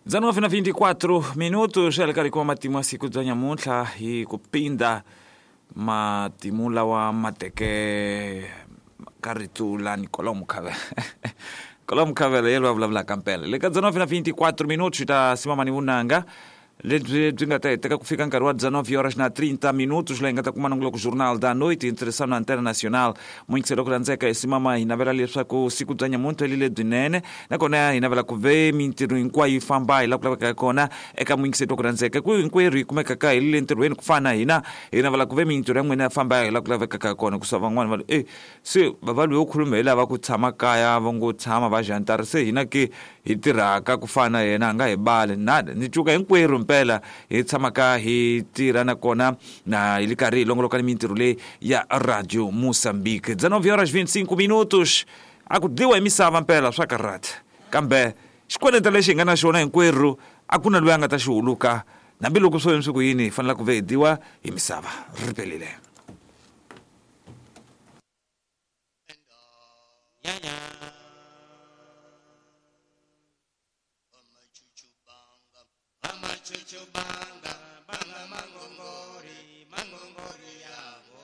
19 na 24 minutos ya le karhi kuma matimu ya siku bya nyamuntlha hi ku pinda matimu lawa ma teke ka rito la Nicolau Mukhavela. Nicolau Mukhavela yelo va vulavulaka mpela le ka 19 na 24 minutos ta simama ni vunanga lebyi byi nga ta heteka ku fika nkarhi wa 19 horas na 30 minutos, laha hi nga ta kuma nongoloko Jornal da Noite ntirhisano na Antena Nacional. Muyingiselo ku rhandzeka, hi simama hi navela leswaku siku bya nyamuntlha li lebyinene, nakona hi navela ku ve mintirho hinkwayo yi famba hi laha ku lavekaka kona eka muyingiseti wa ku rhandzeka ku hinkwerhu hi kumekaka hi le ntirhweni ku fana na hina. Hi navela ku ve mintirho ya n'wina ya famba hi laha ku lavekaka kona, kusa van'wani va e se va loyi khuluma hi lava ku tshama kaya, va ngo tshama va jantara, se hina ke hi tirhaka ku fana na yena a nga hi bali nada. Ni cuka hinkwerhu mpela hi tshamaka hi tirha, nakona na hi li karhi hi longoloka ni mintirho leyi ya Radio Mozambique. 19 horas 25 minutos. A ku dliwa hi misava mpela swa karhata, kambe xikweleta lexi hi nga na xona hinkwerhu a ku na loyi a nga ta xi huluka, hambiloko swo yini swi ku yini, hi fanele ku ve hi dyiwa hi misava ri pelile. Amachuchubanga, banga mangongori, mangongori yabo.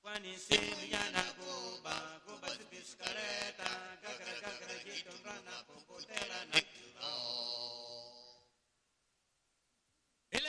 Kwani simuyana kuba, kuba sibiskareta, gagara gagara jitundrana, pompotela na.